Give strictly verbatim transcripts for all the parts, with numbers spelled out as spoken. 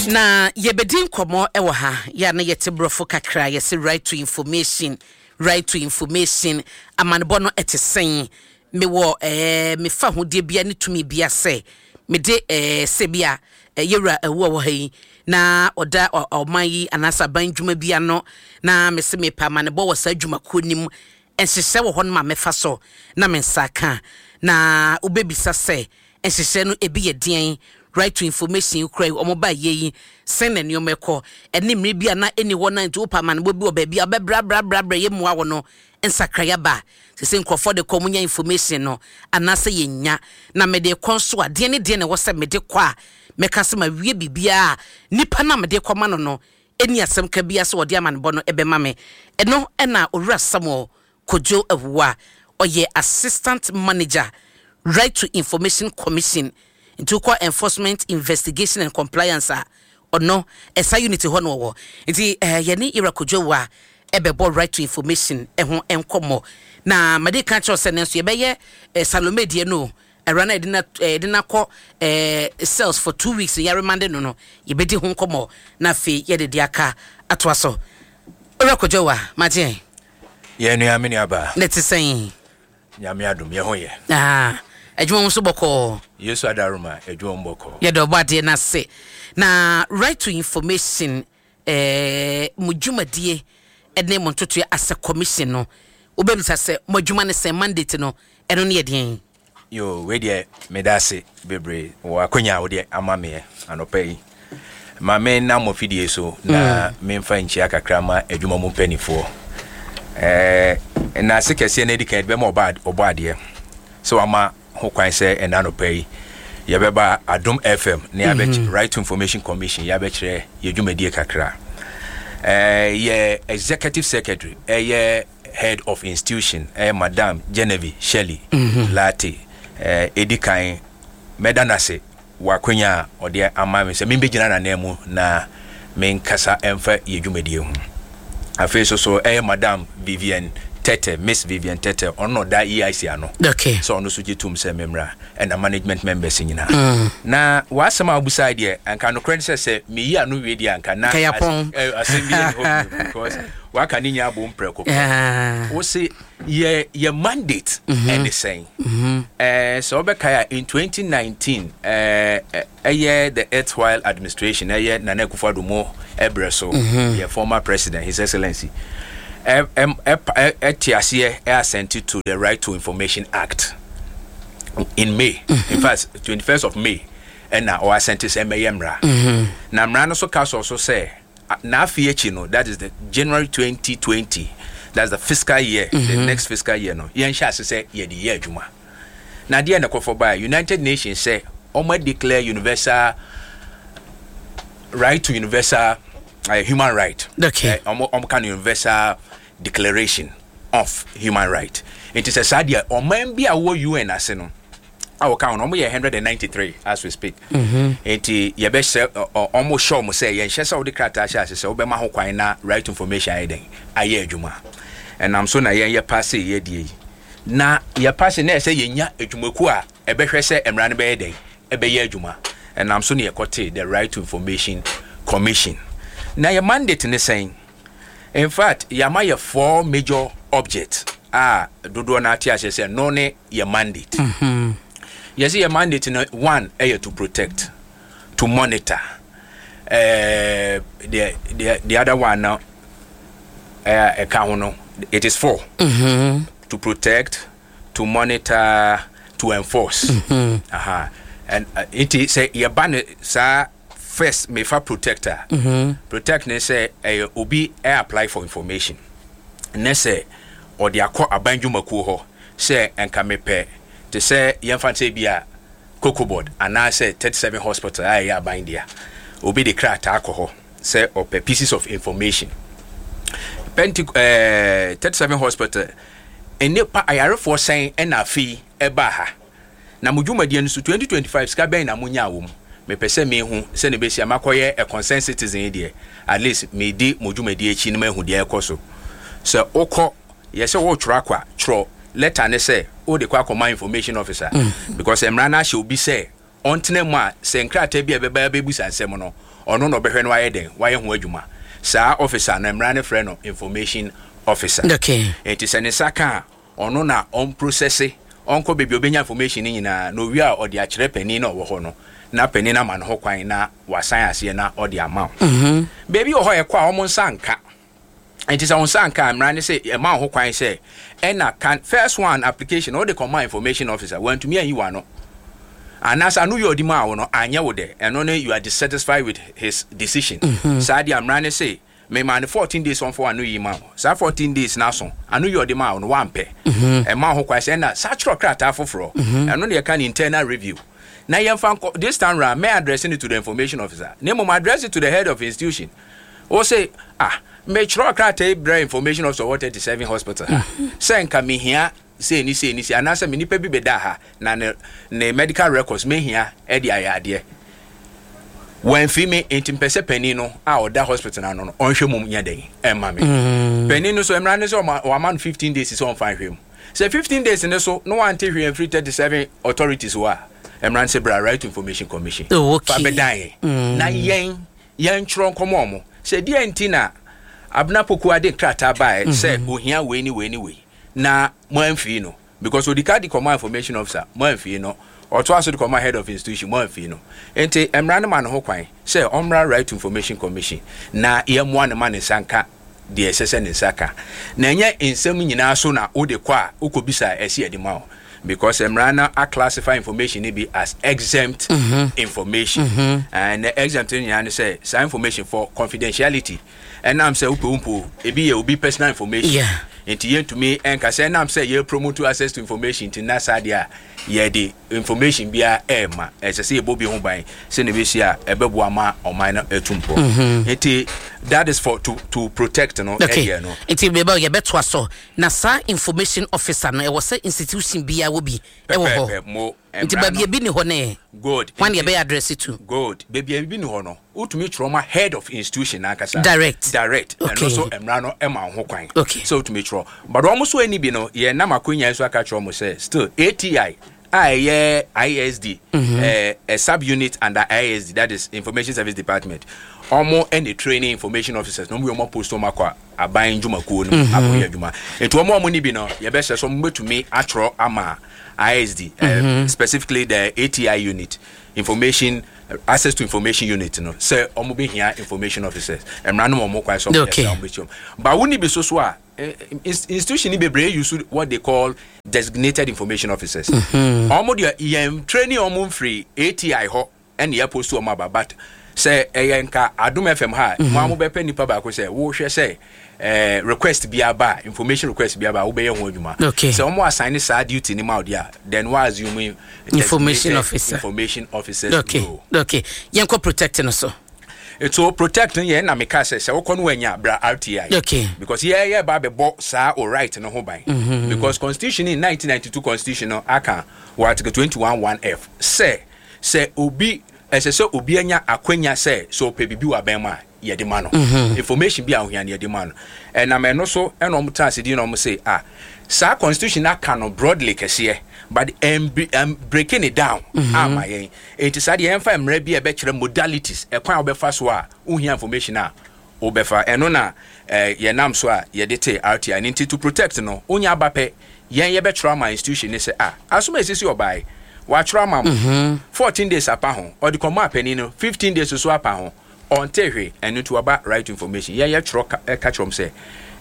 Na yɛbɛdi nkɔmmɔ wɔ ha. Yɛ a na yɛte borɔfo kakra, yɛsɛ right to information, right to information. Amanebɔ no ɛte sɛn? Mewɔ ɛɛ mefa ahodeɛ bia ne tumi bia sɛ mede ɛɛ sɛ bi a yɛwura ɛwu a wɔ ha yi na ɔda ɔman yi anaasɛ aban dwuma bi ano na mese mepɛ amanebɔ wɔ saa dwumakuo nim, nhyehyɛ wɔ hɔ no ma mɛfa so na me nsa ka. Na wobɛbisa sɛ nhyehyɛ no ebi yɛ deɛn? Right to information kura yi, wɔn ba yie yi, sɛn na nneɛma ɛkɔ ɛne mmiri bi a na ɛni hɔ na nti wopɛ amanebɔ bi wɔ baabi a wobɛbrabrabrabra yɛ mmoa wɔ no, nsakraya ba sɛ nkurɔfoɔ de kɔ, ɔmo nya information no anaasɛ yɛnya. Na mede kɔ nso a, deɛ ne deɛ na ɛwɔ sɛ mede kɔ a mɛka sɛ ma wie biribiara, nipa na mede kɔma no no ɛni asɛm ka bia sɛ wɔde amanebɔ no ɛbɛma me. Ɛno ɛna Owura Samuel Kojo Awuwa, ɔyɛ assistant manager, Right to Information Commission, nti wokɔ enforcement, investigation and compliance a, ɔno ɛsa unit hɔ no wɔwɔ. Nti ɛɛ yɛne Ira Kojo Awuwa ɛbɛbɔ right to information ɛho nkɔmmɔ. Na made ka kyerɛw sɛ ne nso yɛbɛyɛ eh, Salome deɛ no, ɛwura no yɛde na yɛde na kɔ ɛɛ cells for two weeks, yɛ remand no no yɛbɛdi ho nkɔmmɔ na afei yɛde de aka atoa so. Owura Kojo Awuwa, magye. Yɛn nua, me nua baa. Ne te sɛn? Nyame adom, yɛ ho yɛ. Ah, adwuma mu nso bɔkɔɔ? Yesu adaroma, adwuma mu bɔkɔɔ. Yɛde ɔbɔ adeɛ no ase. Na right to information, ɛɛ mo dwumadie ɛne mo ntotoɛ asɛ commission no, wobɛbisa sɛ mo adwuma ne sɛn? Mandate no, ɛno ne yɛ deɛn? Yo, wei deɛ, meda ase bebree wɔ akonya a wode ama meɛ anɔpa yi. Ma me nam mo fidie so na mm. memfa nkyia kakra ma adwuma mu mpanimfoɔ. ɛɛ na ase kɛseɛ no adi kan bɛma ɔbɔ adeɛ sɛ wama ho kwan sɛ ɛna anɔpa yi yɛbɛba Adom F M ne yɛabɛkyerɛ mm -hmm. Right to Information Commission, yɛabɛkyerɛ yɛ dwumadie kakra. ɛɛ yɛ executive secretary, ɛyɛ head of institution, ɛyɛ Madam Genevieve Shelley mm -hmm. Latte, ɛɛ edi kan mɛda n'ase wɔ akonya a ɔde ama me sɛ membɛgyina n'anan mu na menkasa ɛmfa yɛ dwumadie ho. Afei so so ɛyɛ Madam Vivian Tete, Miss Vivian Tete, ɔno ɔda E I C ano okay. sɛ ɔno nso gye tom sɛ memmra, ɛna management members nyinaa mm. Na w'asɛm a wobusae deɛ, anka nokorɛ ne sɛ sɛ meyi ano wie deɛ, anka na asɛm bi ne hɔ, because waka ne nyinaa bom prɛko pɛ. Wo se yɛ yɛ mandate ɛne sɛn? ɛɛ sɛ wobɛkae a, in twenty nineteen, ɛɛ ɛyɛ the erstwhile administration, ɛyɛ Nana Akufo-Addo mo ɛbrɛ so, yɛ former president, His Excellency, ɛte aseɛ ɛ assent to the Right to Information Act in May mm -hmm. In fact, twenty-first of May ɛna ɔ assent sɛ ɛmɛyɛ mmara. Na mmara no so ka sɔ so sɛ n'afei akyi no, that is the January twenty twenty, that's the fiscal year mm -hmm. the next fiscal year no, yɛnhyɛ ase sɛ yɛde yɛ adwuma. Na adeɛ na ɛkɔfɔ baa United Nations sɛ ɔmo declare universal right to universal uh, human right. Okay. ɔmo ɔmo ka no Universal Declaration of Human Right. Nti sɛ saa deɛ, ɔman bi a wɔwɔ U N ase no a wɔka ho no, ɔmo yɛ one hundred and ninety-three as we speak. Nti yɛbɛhyɛ ɔmo hyɛ ɔmo sɛ yɛnhyɛ sɛ wɔde krataa hyɛ ase sɛ wɔbɛma ho kwan na right to information ayɛ dɛn, ayɛ adwuma. Ɛnam so na yɛn yɛ pass yɛ die yi, na yɛ pass na ɛsɛ yɛnya adwumakuo a ɛbɛhwɛ sɛ mmara no bɛyɛ dɛn, ɛbɛyɛ adwuma. Ɛnam so na yɛkɔte the Right to Information Commission. Na yɛ mandate ne sɛn? In fact, yɛama yɛ four major objects a dodoɔ no ate aseɛ sɛ no ne yɛ mandate. mm -hmm. Yɛsɛ yɛ mandate no, one ɛyɛ to protect, to monitor, uh, the, the, the other one no ɛka ho no, it is four: mm -hmm. to protect, to monitor, to enforce. mm -hmm. Aha. And uh, nti sɛ yɛba ne saa, first mefa protector. mm -hmm. Protect ne sɛ ɛyɛ obi ɛ apply for information ne sɛ ɔde akɔ aban dwumakuo hɔ sɛ nka mepɛ te sɛ yɛmfa sɛ bi a Cocoa Board anaasɛ thirty-seven Hospital a ɛyɛ aban dea, obi de krataa kɔ hɔ sɛ ɔpɛ pieces of information. Penti ɛɛ thirty-seven Hospital, nnipa ayarefoɔ sɛn ɛna afei ɛbaa ha? Na mo dwumadie no so twenty twenty-five, sika bɛn na mo nyaa wɔ mu? Mepɛ sɛ mehu sɛ ne bɛsi a makɔyɛ a concerned citizen yi deɛ, at least medi mo dwumadie akyi no, mahu deɛ ɛkɔ so. Sɛ wokɔ yɛ sɛ wotwerɛ akɔ a, twerɛ letter ne sɛ wode kɔ akɔma information officer mm. because mmara no ahyɛ obi sɛ ɔntena mu a sɛ nkrataa bi a ɛbɛba bɛbusa nsɛm no, Ɔno na ɔbɛhwɛ no wayɛ den, wayɛ ho adwuma. Saa officer no, mmara no frɛ no information officer. Okay. Nti sɛ ne nsa ka a, ɔno na ɔmprocess, ɔnkɔ baabi a ɔbɛnya information no nyinaa na owie a, ɔde akyerɛ panin na ɔwɔ hɔ no, na panin no ama no ho kwan na wasan aseɛ na ɔde ama wo. Baabi wɔ hɔ, ɛkɔ a ɔmo nsa nka. Nti sɛ wo nsa nka a, mmara ne sɛ ɛma wo ho kwan sɛ ɛna kan first one application wode kɔma information officer, wantumi anyi w'ano anaasɛ ano yɛ ɔde maa wo no anyɛ wo dɛ, ɛno ne you are dissatisfied with his decision. Saa deɛ, mmara ne sɛ mema no fourteen days ɔmfa w'ano yi ma wo. Saa fourteen days no aso, ano yɛ ɔde maa wo no wampɛ, ɛma wo ho kwan sɛ ɛna saa kyerɛ krataa foforɔ. Ɛno ne yɛka ne internal review na yɛmfa nkɔ. This time round, may address it to the information officer na mmom address it to the head of institution. Wo say, ah, metwerɛ krataa yi brɛ information officer wɔ thirty-seven hospital ha sɛ nka mehia sei ni sei ni sei, anaasɛ me nipa bi bɛda ha na ne ne medical records mehia ɛde ayɛ adeɛ, wɔamfi me, nti mpɛ sɛ panin no a ɔda hospital no ano no ɔnhwɛ mu nyɛ den ɛma me. Panin no so, mmara no sɛ ɔma wama no fifteen days sɛ ɔmfa nhwɛ mu. Sɛ fifteen days ne so na wante hwee mfiri thirty-seven authorities hɔ a, mmara no sɛ bra Right to Information Commission. Oh, okay. Fa bɛdan yɛn na yɛn yɛntwerɛ nkɔmɔ ɔmo sɛ deɛ nti na Abena Poku ade krataa baeɛ sɛ ohia wei ne wei ne wei na mo amfii no, because odi ka de kɔma information officer, mo amfii no, ɔtoa so de kɔma head of institution, mo amfii no. Nti mmara no ma ne ho kwan sɛ ɔmmra Right to Information Commission na yɛmmoa ne ma ne nsa nka deɛ ɛsɛ sɛ ne nsa ka. Na ɛnyɛ nsɛm nyinaa so na wode kɔ a wokɔbisa a ɛsi ɛde ma wo, because mmara no aclassify information no bi as exempt information mm-hmm. And the exempt no nyinaa ne sɛ saa information for confidentiality, ɛnam sɛ wopɛ wo mpo ebi yɛ obi personal information. Yeah. Nti yɛntumi ɛnka sɛ ɛnam sɛ yɛ promote access to information nti na saa deɛ a yɛde information biara ɛɛma. Ɛsɛ sɛ yɛbɔ bi ho ban sɛ na ɛbɛsi a ɛbɛboa ma ɔman no atu mpɔ. Nti that is for to to protect no. Okay. Ɛdeɛ no. Nti bɛbɛ yɛbɛtoa so na saa information officer no, ɛwɔ sɛ institution biara wɔ bi ɛwɔ hɔ. Pɛpɛɛpɛ mo. Nti mmara baabi no- ebi ni hɔ ne Good. hwan Nti- yɛbɛyɛ address to? Good. Baabi a bi ni hɔ no, wotumi twerɛ ma head of institution n'ankasa. Direct. Direct. Okay. Ɛno so mmara no ɛma wo ho kwan Okay. sɛ wotumi twerɛ. But wɔn nso ani bi no, yɛn nam akonnwa yi so aka kyerɛ wɔn sɛ still A T I a ɛyɛ I S D, mm -hmm. uh, a sub unit under I S D, that is Information Service Department, wɔn ɛna training information officers na wɔn yɛ wɔn post wɔn akɔ aban dwumakuo no mu akɔyɛ adwuma. Nti wɔn a wɔn ni bi no, yɛbɛhyɛ so wɔn bɛtumi atwerɛ ama I S D, mm -hmm. uh, specifically the A T I unit, information access to information unit no, sɛ wɔn bɛhia information officers. Mmara no wɔn kwan sɛ wɔn Okay. yɛ sɛ wɔn bɛkyɛ wɔn ba wo ni bi so so a eh, ins- institution ni bebree use what they call designated information officers. Wɔn deɛ, yɛn training wɔn mfiri A T I hɔ ɛna yɛ post wɔn aba. But sɛ ɛyɛ nka Adum F M ha, mo a mo bɛpɛ nipa baako sɛ wohwɛ sɛ ɛɛ request bi aba, information request bi aba, wobɛyɛ ho adwuma. Okay. Sɛ wɔn assign saa duty ni ma o deɛ a, then wɔn assume Information designated officer. Information officers okay role. Okay, yɛnkɔ protect no so. So protect no yɛn na meka sɛ sɛ wokɔ no wanya bra R T I. Okay. Because yɛyɛ ba bɛbɔ saa o right no ho ban, because constitution in nineteen ninety-two constitution no aka wɔ article twenty-one one f sɛ sɛ obi ɛsɛ sɛ obi anya akwanya sɛ sɛ ɔpɛ biribi wɔ abɛn mu a, yɛde ma no information bi a ohia no, yɛde ma no. Ɛnam ɛno so ɛna ɔmo tena ase di na ɔmo se, ah, saa constitution aka no broadly kɛseɛ, but ɛm ɛm breaking it down ama yɛn. Eti saa deɛ, yɛmfa mmerɛ bi a ɛbɛkyerɛ modalities, ɛkwan a wɔbɛfa so a wohia information a wobɛfa. Ɛno na ɛɛ yɛnam so a yɛde te R T I ne. Nti to protect no, wonya aba pɛ, yɛn yɛbɛtwerɛ ama institution ne sɛ, ah, asom a esisi ɔbaa watwerɛ ama mo, fourteen days apa ho, ɔde kɔmɔ apanin no, fifteen days so apa ho, ɔnte hwee. Ɛno nti waba right to information. Yɛn yɛtwerɛ ka ɛka kyerɛ wɔn sɛ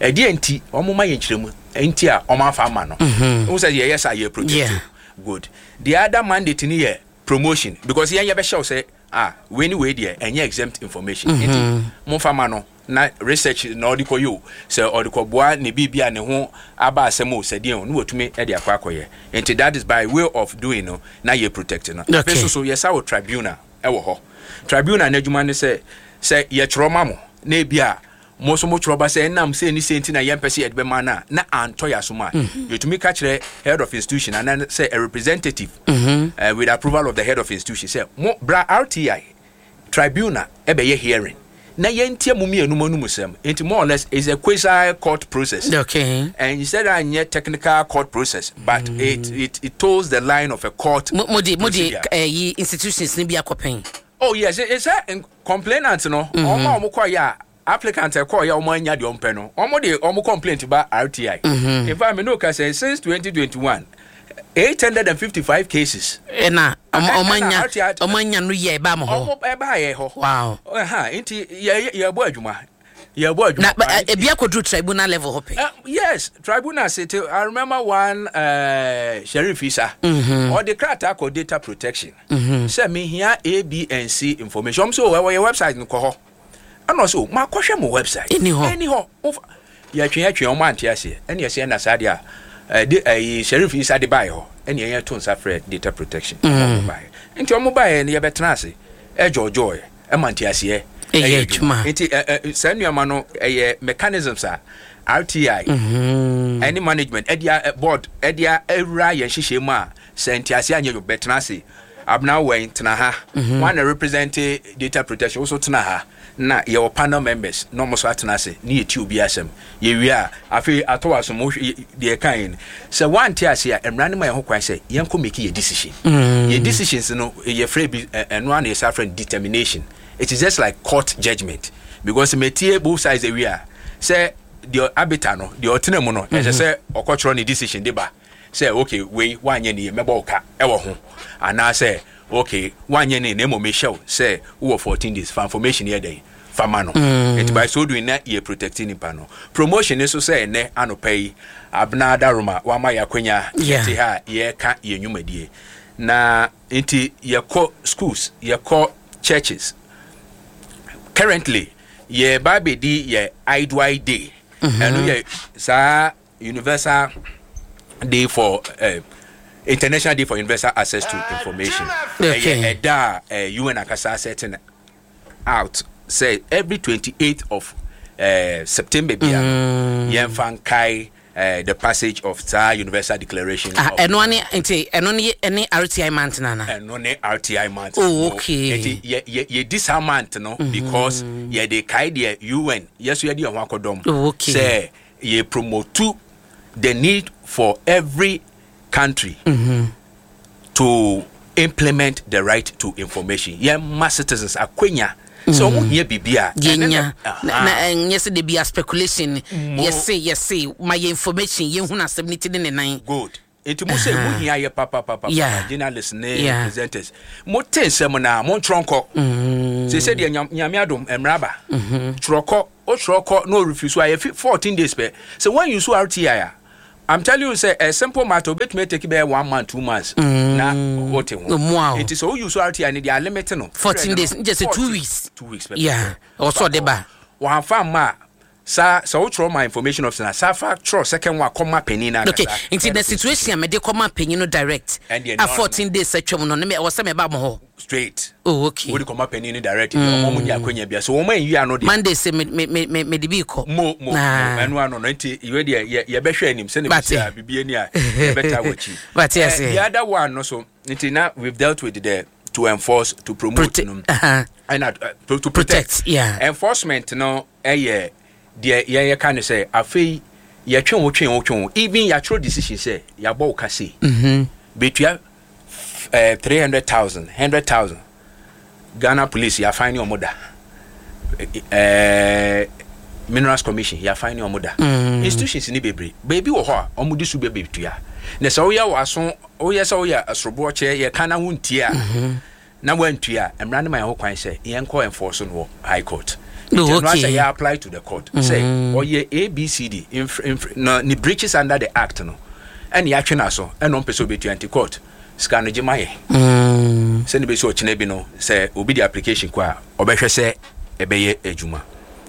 ɛdeɛ nti wɔn ma yɛn kyerɛ mu nti a wɔn afa ama no n sɛ yɛyɛ sa yɛ protect. Yeah. Good. The other mandate ni yɛ promotion, because yɛn yɛbɛhyɛw sɛ, ah, wei ni wei deɛ ɛnyɛ exempt information, nti momfa ma no na research na ɔde kɔ yi o, sɛ ɔde kɔ boa ne biribi a ne ho aba asɛm o, sɛ deɛ o ne watumi de akɔ akɔyɛ. Nti that is by way of doing no na yɛ protect no. Okay. Afei so so yɛsa wɔ tribunal ɛwɔ hɔ. Tribunal n'adwuma ne sɛ sɛ yɛtwerɛ ma mo na ebi a mo nso mo twerɛ ba sɛ ɛnam sɛ ni sɛ nti na yɛmpɛ sɛ yɛde bɛma no a na antɔ yɛ asom a, yɛtumi ka kyerɛ head of institution anaa sɛ a representative uh, with approval of the head of institution sɛ mo bra R T I tribunal ɛbɛyɛ hearing na yɛntie mo mmienu mo anum sɛm. Nti more or less is a quasi court process. Okay and instead anyɛ technical court process, but mm. it, it it toes the line of a court mo mo de mo de procedure. ɛyi institutions ni bi akɔpɛn? Oh yes, it's a complainant no, ɔmo a ɔmo kɔ yɛ a, applicant ɛkɔ yɛ, ɔmo anya deɛ ɔmpɛ no, ɔmo de ɔmo complaint ba R T I. In fact, me no ka sɛ since twenty twenty-one, eight hundred and fifty-five cases. Ɛna ɔmo ɔmo ɛna anya R T I ɔmo anya no yɛ ɛba mo hɔ. Ɔmo ɛba yɛ hɔ. Wow ɛha nti yɛ yɛbɔ adwuma, yɛbɔ adwuma Na paa. ɛ, ebi akɔduru tribunal level hɔ pɛ? Uh, yes, tribunal city. I remember one uh, Sheriff Isa. Mm-hmm. Ɔde krataa kɔ data protection. Mm-hmm. Sɛ mehia A, B and C information. Ɔmo sɛ ɛwɔ yɛ website no, kɔ hɔ. Ɛna ɔsɛ o ma kɔhwɛ mo website. Ɛni hɔ. Ɛni hɔ. Wofa- Yɛtwe yɛtwe, ɔmo ante aseɛ. Ɛna yɛsɛ ɛna saa deɛ a ɛde ɛyi Sheriff Isa de baeɛ hɔ. Ɛna yɛn to nsa frɛ data protection. Ɔmo baeɛ. Nti ɔmo baeɛ no, yɛbɛtena ase. Ɛdwɔdwɔɛ ɛma nte aseɛ. Ɛyɛ adwuma. Nti ɛ ɛ saa nneɛma no ɛyɛ mechanisms a R T I ɛne management ɛde a ɛ, board ɛde a awura yɛn hyehyɛ mu a, sɛ ntease anyɛ yɛ, bɛtena ase. Abena wɛn tena ha, wɔn na represent data protection woso tena ha, na yɛwɔ panel members na wɔn nso atena ase ne yɛti obi asɛm. Yɛwie a, afei atɔ wɔ asom. Wohwɛ deɛ ɛka yɛn sɛ wɔante ase a, mmara no ma yɛn ho kwan sɛ yɛnkɔ make yɛ decision. Yɛ decisions no, yɛfrɛ bi ɛ, ɛno ara na yɛsa frɛ no determination. It is just like court judgement because metie both sides awie a, sɛ deɛ arbiter no, deɛ ɔtena mu no, ɛsɛ sɛ ɔkɔtwerɛ ne decision de ba sɛ, okay, wei wanyɛ ne yɛ, mɛbɔ wo ka ɛwɔ ho, anaasɛ okay, wanyɛ ne na mmom mehyɛ wo sɛ wowɔ fourteen days fa information yɛ dɛn fa ma no. Nti by so doing na yɛ protect nipa no. Promotion nso sɛ ɛnɛ anɔpa yi, Abena Adaroma wama yɛ akwanya Yeah. yɛte ha a yɛreka yɛn nnwumadie na nti yɛkɔ schools, yɛkɔ churches. Currently yɛba abɛdi yɛ I D Y Day. Ɛno yɛ saa universal day for uh, International Day for Universal Access to Information. Okay. Ɛyɛ ɛda a uh, U N akasa setting out sɛ every twenty-eighth of uh, September bia mm. yɛmfa nkae uh, the passage of saa Universal Declaration Ah, of ɛno ne nti ɛno ne ɛne R T I month nana? Ɛno ne R T I month. Oh, okay. Nti yɛ yɛ yɛdi saa month no because yɛde kae deɛ U N yɛso yɛde yɛn ho akɔdɔm Oh, okay. sɛ yɛ promote the need for every country to implement the right to information. Yɛn ma citizens akwanya sɛ ɔmo hia biribi a ɛne yɛnya na- na na ɛnyɛ sɛ de bi a speculation. Mo- Yɛse yɛse ma yɛ information, yɛhunu asɛm ne ti ne ne nan. Good, nti mo sɛ mo hia yɛ papapapa, Yeah. journalists ne Yeah. presenters, mo te nsɛm na mo ntwerɛ nkɔ sɛ sɛ deɛ Nyam- nyame adom mmara ba, twerɛ kɔ. Wotwerɛ kɔ na ɔrefuse so a, yɛfi fourteen days pɛ. Sɛ when you so R T I a, I'm telling you sɛ a simple matter obetumi take bɛyɛ one month, two months na wote ho. Ɔmo a o. Nti sɛ woyi so R T I ne deɛ, alimit no fourteen days, nkyɛ sɛ two fourteen weeks. Two weeks pɛ. Yeah, ɔwɔ sɛ ɔde ba. Wɔamfa mma a, saa sɛ wotwerɛ ma information officer na saa fa twerɛ second one kɔma panin no Okay. ankasa. Nti the situation a mede kɔma panyin no direct Ɛndeɛ a no, no. fourteen days atwam no ne me- ɛwɔ sɛ meba mo hɔ? Straight. Oh, okay. Wode kɔma panin no direct mm. Ɔmo mo ni akwanya bia so wɔn ayi ano deɛ. Monday sɛ me- me- me- me- mede bi kɔ. Mo mo Ah. mo ɛno ano no, nti ìwé deɛ yɛ yɛbɛhwɛ anim sɛne Bate. bisi a bibi ani a yɛbɛta wɔ akyi. Bate Eh, ase. The other one no so, nti na we've dealt with the to enforce, to promote Prote- no uh-huh. ɛna uh, to, to protect. Protect, yeah. Enforcement no ɛyɛ deɛ yɛn yɛka no sɛ afei yɛtwe wo, twe wo, twe wo, even yɛatwerɛ decision sɛ yɛabɔ wo ka sei, bɛtua eh, three hundred thousand, hundred thousand. Ghana Police yɛafan ne ɔmo da, eh, Minerals Commission yɛafan ne ɔmo da, institutions ni bebree beebi wɔ hɔ a ɔmo de so bɛ bɛtua. Na sɛ woyɛ w'aso, woyɛ sɛ woyɛ asoroboɔ kyɛ yɛka na wontie a, na wantua a, mmara no ma yɛn ho kwan sɛ yɛnkɔ enforce no wɔ high court. Oh, Nti ɛno okay. asɛ yɛ apply to the court sɛ ɔyɛ A B C D inf- inf- na ne breaches under the act no, ɛne yɛatwe no so, ɛna ɔmpɛ sɛ ɔbɛtua, nti court sika no gye ma yɛ Mm. sɛne bɛsi ɔkyena bi no, sɛ obi de application kɔ a, ɔbɛhwɛ sɛ ɛbɛyɛ adwuma.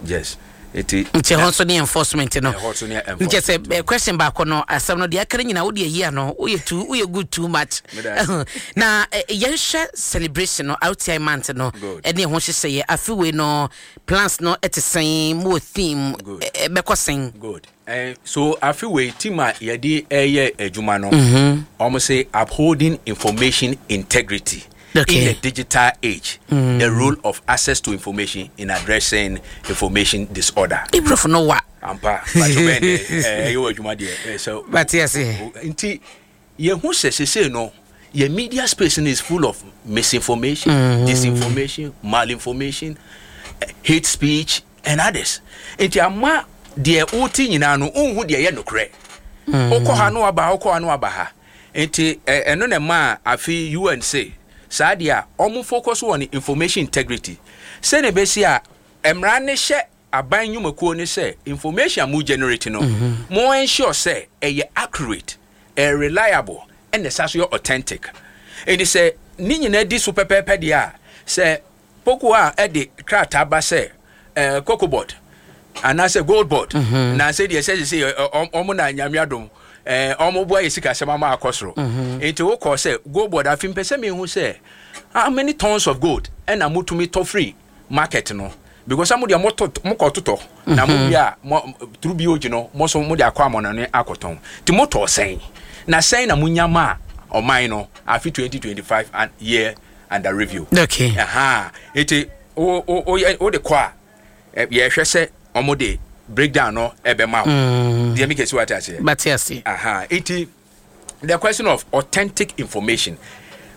Yes, nti Nti ɛhɔ nso ne enforcement no. Ɛhɔ nso ne Nkyɛ sɛ enforcement. eh, question baako no, asɛm no deɛ aka no nyinaa wode ayi ano, woyɛ too, woyɛ good too much. Meda ase. Na eh, yɛnhwɛ celebration no, R T I month no. Good. Ɛne ɛho hyehyɛeɛ afe wei no, plans no ɛte sɛn? Mowɔ theme? Good. ɛ- ɛbɛkɔ sɛn? Good. Eh, so afe wei team a yɛde ɛyɛ adwuma no, ɔmo sɛ "Upholding information integrity Okay. in the digital age, the role of access to information in addressing information disorder." Ibrɔfo no wa. Ampa bato bɛn de ɛyɛ wɔ adwuma deɛ, eh, sɛ Bate ase. nti yɛhu sɛ sesei no Yɛ media space no is full of misinformation, disinformation, malinformation, eh, hate speech and others. Nti ama deɛ wote nyinaa no, wonhu deɛ ɛyɛ nokorɛ. Wokɔ ha no waba ha, wokɔ ha no waba ha. Nti ɛ- ɛno na ɛma a afei U N se saa deɛ a ɔmo focus wɔ information integrity, sɛne ɛbɛsi a mmara ne hyɛ aban nnwumakuo ne sɛ information a mo generate no, mo ensure sɛ ɛyɛ accurate, ɛyɛ reliable, ɛna ɛsa so yɛ authentic. Nti sɛ ne nyinaa di so pɛpɛɛpɛ deɛ a, sɛ poko a ɛde krataa ba sɛ ɛɛ Cocoa Board anaasɛ Gold Board na sɛ deɛ sɛ sɛ ɛ, ɔ- ɔmo na Nyame adom ɛɛ ɔmo boa yɛ sikasɛm ama akɔ soro. Nti wokɔ sɛ Gold Board, afi mpɛ sɛ mehu sɛ how many tons of gold ɛna motumi tɔ free market no, because mo deɛ motɔ, mokɔ totɔ na mo wie a, mo through B O G no, mo so mo de akɔ amɔnɔne akɔtɔn. Nti motɔ sɛn na sɛn na monya ma a ɔman no afi twenty twenty-five and year under review? Okay Aha, nti wo wo wo wo de kɔ a, ɛ, yɛhwɛ sɛ ɔmo de breakdown no ɛbɛma wo deɛ mi kɛsi wate aseɛ. Bate ase. Aha, nti the question of authentic information,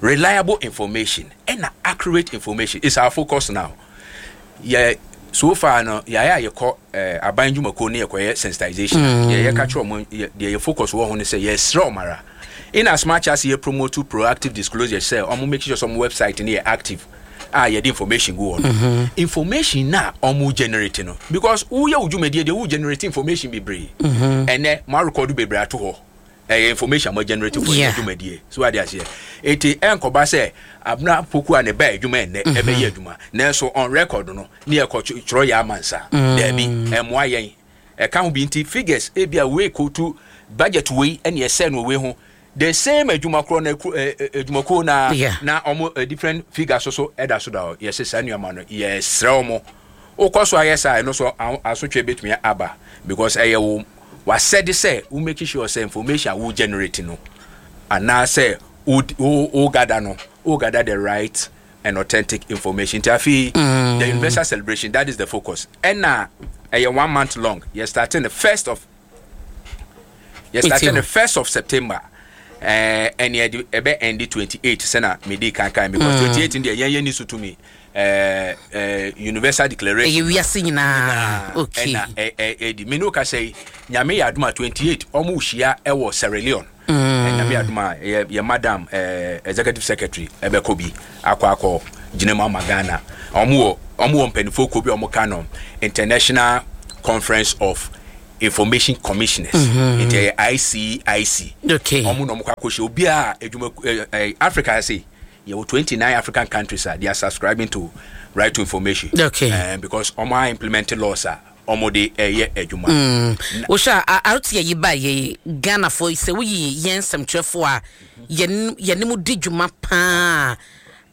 reliable information ɛna accurate information is our focus now. Yɛ so far no, yɛayɛ a yɛkɔ eh, aban dwumakuo ne yɛkɔyɛ sensitization. Deɛ yɛka kyerɛ ɔmo, yɛ- deɛ yɛ focus wɔ ho ne sɛ yɛsrɛ ɔmo ara, in as much as yɛ promote proactive disclosure sɛ ɔmo make sure sɛ ɔmo website no yɛ active a yɛde information gu hɔ no, information na ɔmo generate no, because woyɛ wo dwumadie deɛ, wo generate information bebree. Ɛnɛ mo arekɔdo bebree ato hɔ, ɛyɛ information a mo generate for Yeah. yɛ dwumadie so ade aseɛ. Eti ɛnkɔba sɛ Abena Poku a ne ba adwuma ɛnɛ ɛbɛyɛ adwuma, nanso on record no ne yɛkɔ twerɛ yɛ ama nsa daabi, ɛmmoa yɛn. Ɛka ho bi nti figures ebi a wei kotu budget wei ɛne ɛsɛ no wei ho, the same adwuma korɔ na eku- ɛ, ɛ, adwumakuo na Yeah. na ɔmo ɛ, different figures so so ɛda so da hɔ. Yɛsɛ saa nneɛma no, yɛsrɛ ɔmo, wokɔ so ayɛ saa, ɛno so aho- asotwe bɛtumi aba, because ɛyɛ wo wasɛde sɛ wo make sure sɛ information a wo generate no anaasɛ wo wo wo gather no, wo gather the right and authentic information. Nti afei the universal celebration, that is the focus. Ɛna ɛyɛ one month long. Yɛ starting the first of yɛ starting the first of September, ɛɛ ɛne ɛde ɛbɛ end twenty eight, sɛna medi kankan, because twenty eight deɛ, yɛn yɛn ni so tumi ɛɛ ɛɛ universal declaration. Ɛyɛ wiase nyinaa, okay. Ɛna ɛ ɛ ɛdi mene wo kasa yi, Nyame yɛ adom a, twenty eight ɔmo hyia ɛwɔ Sierra Leone. mm. Nyame yɛ adom a, yɛ yɛ madam ɛɛ executive secretary ɛbɛkɔ bi akɔ akɔ gyina mu ama Ghana. Ɔmo wɔ ɔmo wɔ mpanimfoɔ kuo bi a ɔmo ka no International Conference of Information Commissioners, nti ɛyɛ I C I C. Okay. Ɔmo na ɔmo kɔ akɔhyia obiara adwuma ɛ ɛ Africa ase. Yɛwɔ twenty nine African countries a they are subscribing to right to information. Okay. uh, because ɔmo a implement laws a ɔmo de ɛyɛ adwuma. Wohwɛ a R T I yi ba yɛ Ghanafoɔ sɛ woyi yɛn nsɛmtwerɛfoɔ a yɛn yɛne mu di dwuma paa,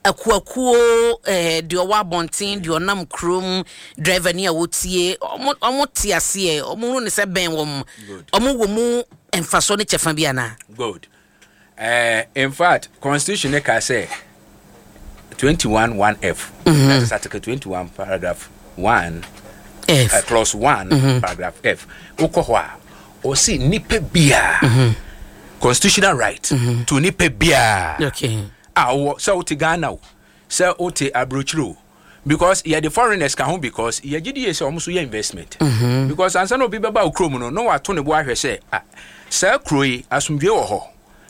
akuakuo, ɛɛ deɛ ɔwɔ abɔnten, deɛ ɔnam kurom, driver ni a wɔtie, ɔmo ɔmo te aseɛ, ɔmo hu ne sɛ bɛn wɔn, ɔmo wɔ mu mfasoɔ ne kyɛfa bi anaa? Good. uh, in fact, constitution ne ka sɛ twenty one one F, mm-hmm. that is article twenty one paragraph one F. uh, clause one, mm-hmm. paragraph F. Wokɔ hɔ a, ɔsi nipa biara, mm-hmm. constitutional right mm-hmm. to nipa biara okay a wɔ sɛ wote Ghana o, sɛ wote aburokyire o, because yɛde foreigners ka ho, because yɛgye di yɛ sɛ ɔmo nso yɛ investment mm-hmm. because ansa na obi bɛba wo kurom no na wato ne bo ahwɛ sɛ, ah, saa kuro yi asomdwe wɔ hɔ,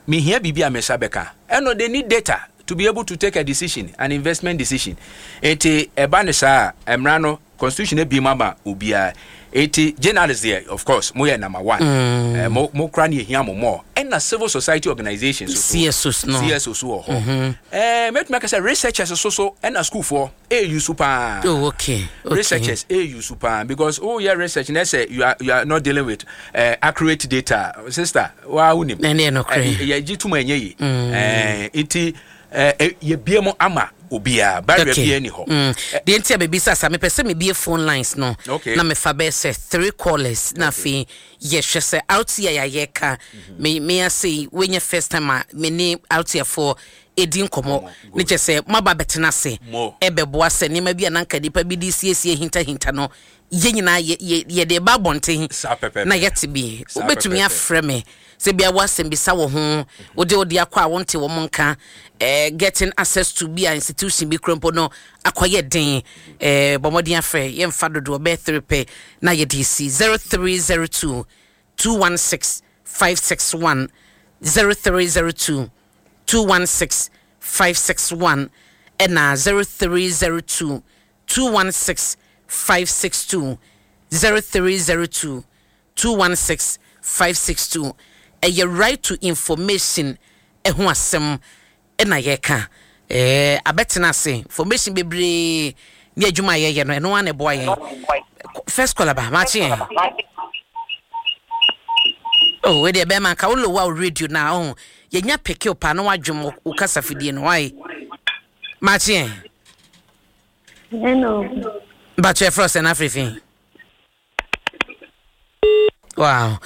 mehia biribi a me nsa bɛka. Ɛno they need data to be able to take a decision, an investment decision. Eti ɛba ne saa, mmara no, constitution ebi mu ama obiara. Eti journalist deɛ, of course mo yɛ number one. mm. uh, mo mo kura ne ehia mo more. Ɛna civil society organizations so, C S Os no. C S Os wɔ hɔ. ɛɛ mɛtumi aka sɛ researchers so so ɛna schoolfoɔ eyi so paa. oh okay okay Researchers eyi so paa, because oh, yɛ research na sɛ you are you are not dealing with uh, accurate data, sister, waa wunim. Ɛne yɛ nokorɛ. Yɛ gye tum ɛnyɛ yi. ɛɛ nti ɛɛ yɛbie mu ama obiara, barrier Okay. biara ni hɔ. Mm. Deɛ nti a baabi sɛ asa mepɛ sɛ mebie phone lines no Okay. na mefa bɛyɛ sɛ three callers na afei yɛhwɛ sɛ R T I a yɛka me me ase yi, wonyɛ first time a me ne R T I foɔ ɛdi nkɔmmɔ ne kyɛ sɛ moaba bɛtena ase Mo. ɛbɛboa sɛ nneɛma bi a nanka nipa bi de siesie hintahinta no, yɛn nyinaa yɛ- yɛ- yɛde ba abɔnten Saa pɛpɛɛpɛ. na yɛte bi. Saa Wobɛtumi pɛpɛɛpɛ. afrɛ me. Sɛ bia woasɛm bisa wɔ ho, wode wode akɔ a wonte wɔ mo nka, eh, getting access to bi a institution bi kura mpo no akɔyɛ den. eh, bɔ mmɔden afrɛ, yɛmfa dodoɔ bɛyɛ three pɛ na yɛde si zero three zero two two one six five six one, zero three zero two two one six five six one, ɛna zero three zero two two one six five six two, zero three zero two two one six five six two. Ɛyɛ right to information ɛho asɛm ɛna yɛka. ɛɛ abɛtena ase, information bebree ne adwuma a yɛyɛ no, ɛno ara na ɛboa yɛn. First caller ba, maakye yɛn. Oh, wei deɛ, bɛrima, nka wo lower wo radio na ɔho yɛnya peke wo paa na wadwom wo- wo kasa fidie no wae. Maakye yɛn. Hello. Mpatwɛ, ɛfrɛ sɛ no afiri fi. Wow,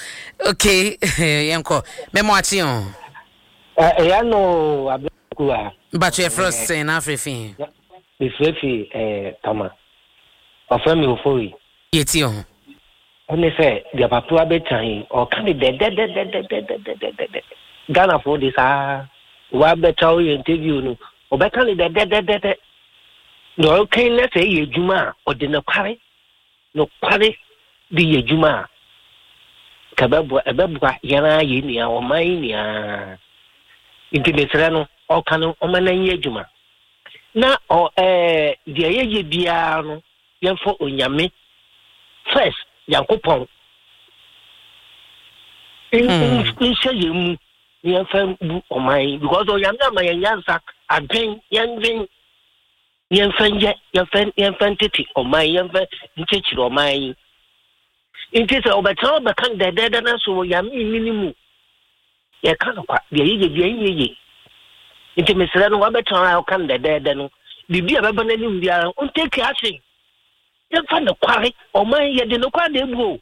okay, yɛnkɔ. Mɛmɔ akye o. Ɛyɛ no abɛku a. Mpatwɛ, ɛfrɛ sɛ no afiri fi. Mefrɛ fi eh, Tama. Ɔfrɛ me Ofori. Yɛtie o. Ɛne sɛ deɛ papa abɛka yi, ɔka ne dɛdɛdɛdɛdɛdɛdɛdɛ. Ghanafoɔ de saa wabɛka woyɛ interview no, ɔbɛka ne dɛdɛdɛdɛdɛ. Na ɔka na sɛ ɛyɛ adwuma a, ɔde nokware nokware de yɛ adwuma a, ka ɛbɛboa ɛbɛboa yɛn ara yɛn nua ɔman yi nyinaa. Nti mesrɛ no, ɔka no, ɔma no nyɛ adwuma na ɔ ɛɛ deɛ yɛyɛ biara no, yɛmfa Onyame first, Nyankopɔn nhyɛ yɛn mu na yɛmfa bu ɔman yi, because Onyame ama yɛn nyansa, adwen, yɛndwen, yɛmfa nyɛ, yɛmfa yɛmfa ntete ɔman yi, yɛmfa nkyekyere ɔman yi. Nti sɛ ɔbɛtena ɔbɛka no dɛdɛɛdɛ no so, Onyame nni ne mu, yɛka no kwa, deɛ yɛyɛ bia nyɛ ye. Nti mesrɛ no, wabɛtena a ɔka no dɛdɛɛdɛ no, biribi a bɛba n'anim biara, ɔntake action. Yɛmfa nokware ɔman, yɛde nokware na ebu o.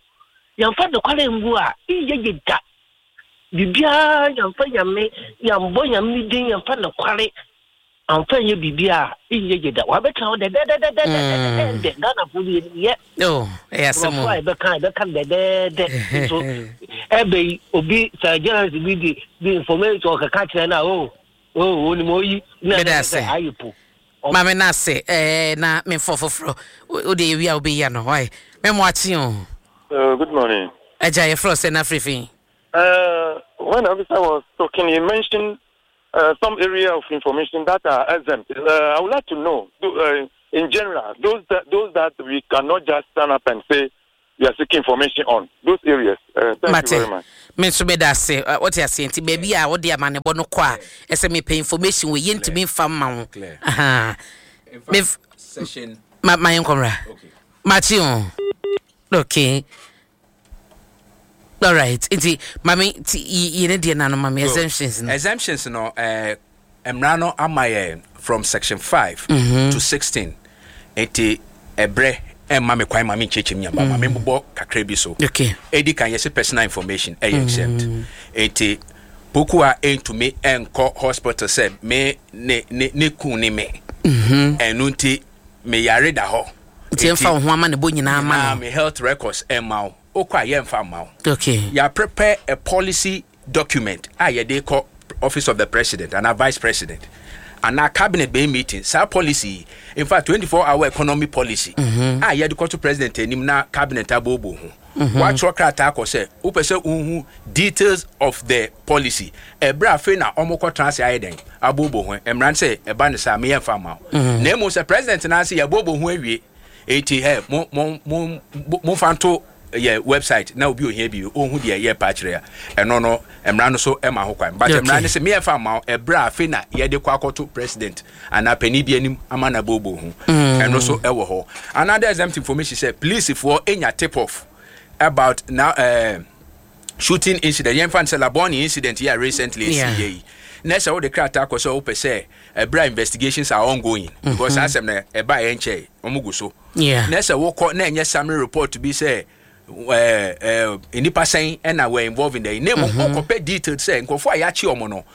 Yɛmfa nokware mbu a, nyɛ ye da. Biribiara yɛmfa Nyame, yɛmbɔ Nyame ne din, yɛmfa nokware amfa nyɛ biribi a, nyɛ ye da. Wabɛtena hɔ dɛdɛdɛdɛdɛdɛdɛ, Ghanafoɔ de yɛ Oh, ɛyɛ asɛm o. Nkurɔfoɔ a yɛbɛka yɛbɛka no dɛdɛɛdɛ nso ɛbɛ yi, obi sɛ journalist bi de bi information ɔkeka kyerɛ no a, o o onim oyi na Meda ɛsɛ ase. sɛ ayɛ po. Maame no ase ɛɛ na memfɔ foforɔ. Wode yɛwie a, wobɛyi ano wae. Mɛmɔ akye o. Uh, good morning. Agya, yɛfrɛ sɛ no afiri fi. Uh, when the officer was talking, he mentioned uh, some area of information that are exempt. Uh, I would like to know, do, uh, in general, those that, those that we cannot just stand up and say we are seeking information on, those areas. Uh, thank Mate. you very much. Me nso meda ase. Ɛ, wote aseɛ, nti baabi a wode amanebɔ no kɔ a, ɛsɛ mepɛ information wɔ, yɛntumi mfa mma wo. Clear. Aha. In Me- fact, section ma ma yɛnkɔmmra. Okay. Makye o. Okay, alright, nti mame ti yi ne deɛ nano mame exemptions no. Exemptions no, uh, mmara no ama yɛ from section five Mm-hmm. to sixteen, nti ɛbrɛ ɛmma me kwan ma me nkyɛnkyɛn nyamba ma me mbobɔ kakra bi so. Okay. Edi kan, yɛsɛ personal information ɛyɛ exempt, nti poku a ɛntumi ɛnkɔ hospital sɛ me ne ne ne kun ne me, ɛno nti me yare da hɔ. Nti ɛmfa wo ho ama ne bɔ nyinaa ma na no. Me health records ɛmma wo, wokɔ a yɛmfa mma wo. Okay yà prepare a policy document a yɛde kɔ Office of the President ana Vice President ana cabinet bɛyɛ meeting. Saa policy yi, in fact, twenty four hour economy policy a yɛde kɔto President anim na cabinet abobo ho, watwerɛ krataa kɔ sɛ wopɛ sɛ wohu details of the policy. Ɛberɛ afei na ɔmo kɔtena ase ayɛ dɛn abobo ho mmara no sɛ ɛba ne saa, meyɛ mfa ma wo. Na mmom sɛ President no ase yɛbobo ho awie, eti ɛ mo mo mo mo fa nto yɛ website na obi ohia bi ohun deɛ yɛ pa kyerɛ a, ɛno no mmara no so ɛma ho kwan, but Okay. mmara no sɛ meyɛ fa ma wo ɛberɛ a afei na yɛde kɔ akɔto President anaa panin bi anim ama na bobo ho, ɛno so ɛwɔ hɔ. Another exempt information sɛ polisifoɔ enya tip off about now uh, shooting incident, yɛmfa no sɛ Labone incident yɛ a recently esi Yeah. yɛ yi, na sɛ wode krataa kɔ sɛ wopɛ sɛ ɛberɛ a investigations are ongoing, because saa asɛm no ɛba yɛ nkyɛe, ɔmo gu so, Yeah. na sɛ wokɔ na ɛnyɛ summary report bi sɛ ɛɛ ɛɛ nnipa sɛn ɛna were involved in the, na mmom wokɔpɛ detail sɛ nkurɔfoɔ a yɛakye ɔmo no,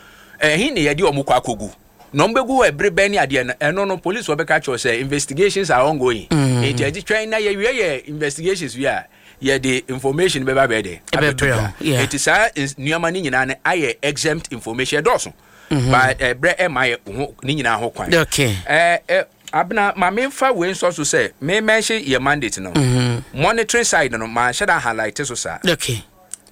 ɛhe ne yɛde ɔmo kɔ akɔgu na ɔmo bɛgu hɔ ɛbere bɛn ne adeɛ no, ɛno no police wɔ bɛka kyerɛ sɛ investigations are ongoing, nti agye twɛn na yɛwie yɛ investigations wie a Yɛde information bɛba bɛyɛ dɛ abɛto Ɛbɛbrɛ dwa. wo, yeah. Nti saa ns- nneɛma no nyinaa no ayɛ exempt information, ɛdɔɔso, but ɛbrɛ ɛma yɛ ho ne nyinaa ho kwan. Okay. ɛɛ ɛ abena ma memfa wei nsɔ so sɛ me mention yɛ mandate no, monitoring side no, ma nhyɛ da highlight so saa. Okay,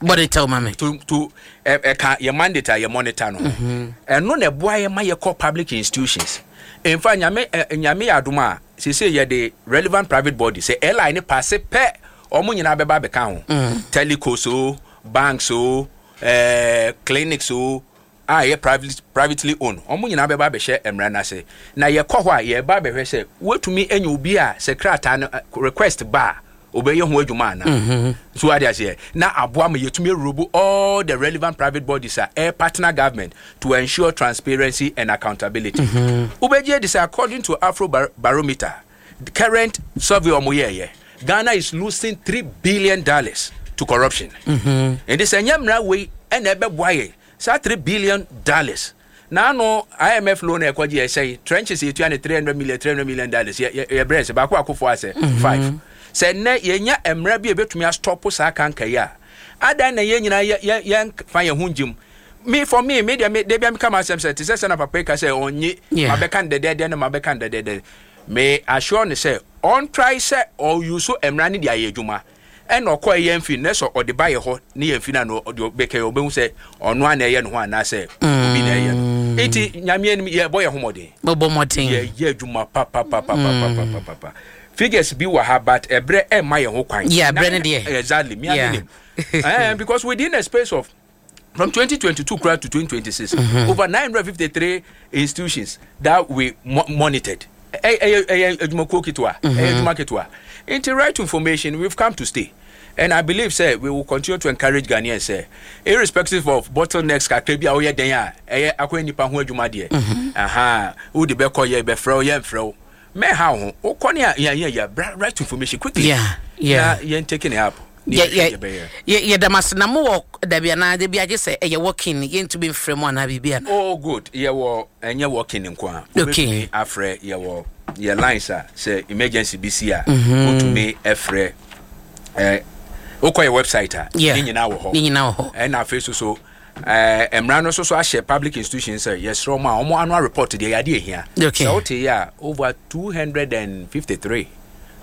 bɔde tɛw ma me. to to ɛ ɛka yɛ mandate a yɛ monitor no, ɛno na ɛboa yɛ ma yɛkɔ public institutions. In fact, Nyame ɛ Nyame yɛ adom a, sese yɛde relevant private body sɛ L I ne pass pɛ, ɔmo nyinaa bɛba abɛka ho, telecos o, banks o, ɛɛ clinics o, a yɛ private privately owned, ɔmo nyinaa bɛba abɛhyɛ mmara n'ase. Na yɛkɔ hɔ a, yɛba abɛhwɛ sɛ wotumi anya obi a sɛ krataa no ɛ, request ba a, obɛyɛ ho adwuma ana so ade aseɛ na aboa ma yɛtumi arobo all the relevant private bodies a ɛyɛ partner government to ensure transparency and accountability. Wobɛgye adi sɛ according to Afro Bar barometer the current survey ɔmo yɛɛyɛ, Ghana is losing three billion dollars to corruption. Nti sɛ nyɛ mmara wei ɛna ɛbɛboa yɛ saa three billion dollars na ano I M F loan a ɛkɔgye yɛ sɛn, trenches yɛtua ne three hundred million, three hundred million dollars, yɛ yɛ yɛbrɛ sɛ baako akofo asɛ five sɛ nnɛ yɛnya mmara bi a ɛbɛtumi astop saa kanka yi a, adan na yɛn nyinaa yɛ yɛ yɛn fa yɛn ho ngyim. Me, for me, me deɛ, me de bia meka ma asɛm sɛ te sɛ sɛ na papa yi ka sɛ ɔnye Yeah. mabɛka no dɛdɛɛdɛ no, mabɛka no dɛdɛɛdɛ. Me assure ne sɛ ɔntry sɛ ɔuse mmara no de ayɛ adwuma, ɛna ɔkɔ yɛn fi ne sɛ ɔde ba yɛ hɔ ne yɛn fi na no ɔde bɛkɛ, ɔbɛhu sɛ ɔno a na ɛyɛ ne ho anaasɛ obi na ɛyɛ no. Nti Nyame anim, yɛbɔ yɛn ho mmɔden. Bɔbɔ mmɔden. Yɛyɛ adwuma papapapapapapapa. Figures bi wɔ ha, but ɛbrɛ ɛmma yɛn ho kwan. Yeah, ɛbrɛ no deɛ. Exactly, mi Yeah. ame nim eh, because within a space of from twenty twenty-two kura to twenty twenty-six, over nine hundred fifty-three institutions that we mo monitored. Ɛyɛ ɛyɛ adwumakuo ketewa, ɛyɛ adwuma ketewa. Nti right to information, we've come to stay, and I believe say we will continue to encourage Ghanaians say irrespective of bottlenecks kakra bi a woyɛ den a ɛyɛ akɔyɛ nipa ho adwuma deɛ, aha wode bɛkɔ, yɛ bɛfrɛ wo, yɛ mfrɛ wo, mɛha wo ho wokɔ ne a yɛ yɛ yɛ right to information quickly. Yeah, yeah. Na yɛn taking it up ne yɛ yɛhwɛ yɛ deɛ bɛyɛ. yɛ yɛda ase. Na mowɔ dabi anaa dabi agye sɛ ɛyɛ walk-in, yɛntumi mfrɛ mu anaa biribi ana? Oh good, yɛwɔ, ɛnyɛ walk-in nko a. Okay. Wobɛtumi afrɛ, yɛwɔ yɛ lines a sɛ emergency bi si a, wotumi ɛfrɛ. Ɛ wokɔ yɛ website a, Yeah. ne nyinaa wɔ hɔ. Ne nyinaa wɔ hɔ. Ɛna afei so so ɛɛ mmara no nso so ahyɛ public institution sɛ yɛsrɛ ɔmo a ɔmo annual report deɛ, yɛade ehia. Okay. Sɛ wote yɛ a, over two hundred and fifty three,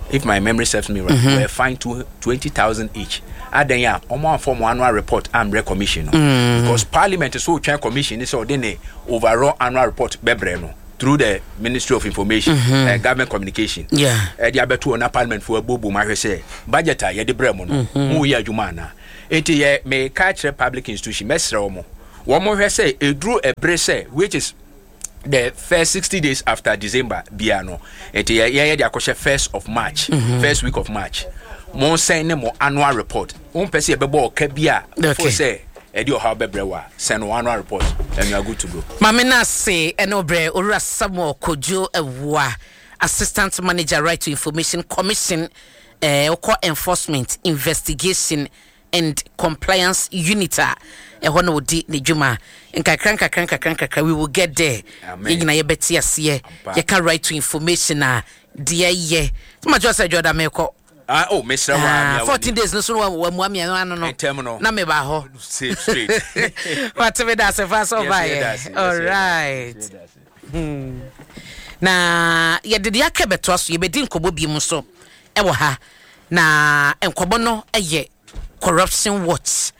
if my memory serves me right, mm-hmm. were fined two twenty thousand each adan a ɔmo anfɔ ɔmo annual report ambrɛ commission no, mm. because Parliament so otwɛn commission ni sɛ ɔde ne overall annual report bɛbrɛ no through the Ministry of Information, mm-hmm. uh, Government Communication, Yeah. ɛde abɛto hɔ na Parliament fo abuobuo mu ahwɛ sɛ budget a yɛde brɛ mu no, mo yɛ adwuma ana. Nti yɛ meka kyerɛ public institution, mɛsrɛ wɔn, wɔn hwɛ sɛ eduru ɛbere sɛ, which is the first sixty days after December bia no, nti yɛ yɛn yɛ de akɔhyɛ first of March, first week of March, mo send ne mo annual report. Wɔn pɛ sɛ yɛbɛbɔ ɔka bi a Okay. fo sɛ ɛde ɔhaw bɛbrɛ wa, send wo annual report and you are good to go. Maame no ase ɛne wobrɛ Owura Samuel Kodwo Awua, Assistant Manager, Right to Information Commission, eh, wokɔ Enforcement, Investigation and Compliance Unit a ɛhɔ na wɔdi ne dwuma. Nkakra nkakra nkakra nkakra, we will get there. Amen. Yɛn nyinaa yɛbɛte aseɛ. Ampa. Yɛka right to information a, deɛ yɛ sɛ sɛ dwɔda mekɔ. Ah, oh, mesrɛ wo a, Ah, mea fourteen w'ani. days no so no, wamua mmienu ano no. Ntɛm no. Na meba hɔ. Safe straight. Wate me da ase fa sɛ Yes, ɔbaeɛ. yɛda ase, yes, All yɛda ase, right. yɛda ase. Na yɛde deɛ aka bɛtoa so, yɛbɛdi nkɔmmɔ bi mu so ɛwɔ ha, na nkɔmmɔ no yɛ Corruption Watch.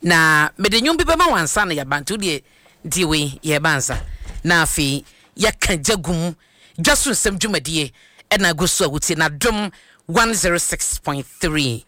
Na mede nnwom bi bɛma wansa na yɛaba, nti wodeɛ nti wei yɛba ansa na afei yɛka gya gu mu. Dwa so nsɛm dwumadie ɛna agu so a wotie na Dom one oh six point three.